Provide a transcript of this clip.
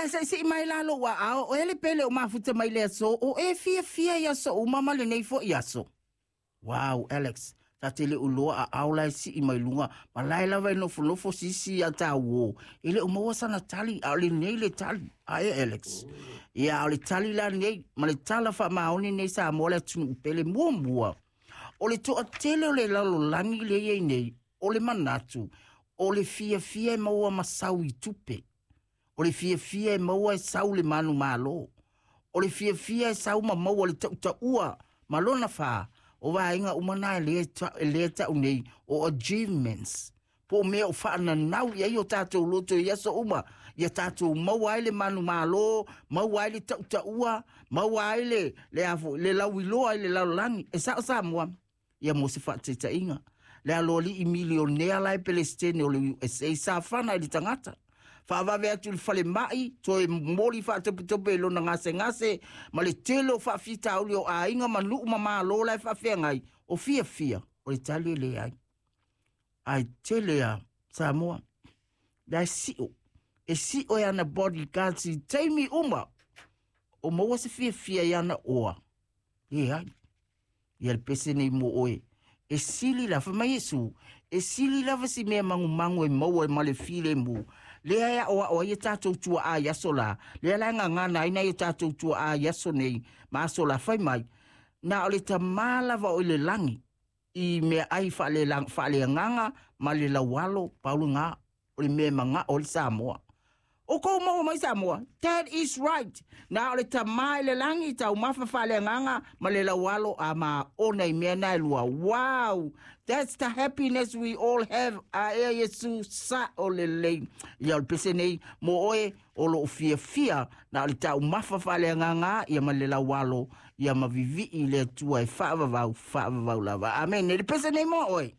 Ia seʻi mai la lou aao, o e le pele o mafuta mai le aso, o e fiafia i aso uma ma lenei foʻi aso. Wow, Alex, ta te le uloa a ao la e sii mai luga, ma lae lava e nofonofo sisi a tā uō. E le o maua sana tali, a o lenei le tali. A e, Alex. Ia, a o le tali la nei, ma le tala faamaoni nei Samoa le atunuu pele muamua. O le toatele o le lalolagi lea e i ai nei, o le manatu, o le fiafia e maua ma sau i tupe. O le fiafia e maua e sau le manumalo. O le fiafia e sau ma maua le tautaua ma lona fā. O vaega uma na e lea e lea ta'u nei o achievements. Po o mea o faananau i ai o tatou loto i aso uma, ia tatou maua ai le manumalo, maua ai le tautaua, maua ai le, le, a foi, le lauiloa i le lalolagi. E sa'o Samoa. Ia mo se faataitaiga, le aloalii milionea la e Pelesitene o le USA sa fana i le tagata. Faavave atu i le falemai, toe momoli faatopetope i lona gasegase, ma le tele o faafitauli o aiga ma nuu ma malo la e faafeagai, o fiafia, o le tali e leai. Ae tele a Samoa, la e sio, e sio e ana bodyguards i taimi uma, o maua se fiafia i ana oa. Leai. Ia le pese nei mo oe. E sili la, fai mai Iesu, e sili lava si mea magumagu e maua ma le filemu. Lea e aʻoaʻo ai e tatou tuaʻa i aso lā, lea la e gagana ai nai o tatou tuaʻa i aso nei ma aso lā, fai mai, na o le Tamā lava o i le lagi i meaai faaleagaga ma le laualo, pau lena o le mea e manao ai le Samoa. O kou maua mai Samoa, that is right. Na o le Tamā i le lagi, taumafa faaleagaga ma le laualo a maona i mea na e lua. Wow! That's the happiness we all have. A ea Iesu, sa'o lelei. Ia o le pese nei mo oe o loo fiafia na o le taumafa faaleagaga ia ma le laualo ia ma vivii i le Atua e faavavau, faavavau lava. Amene. Le pese nei mo oe.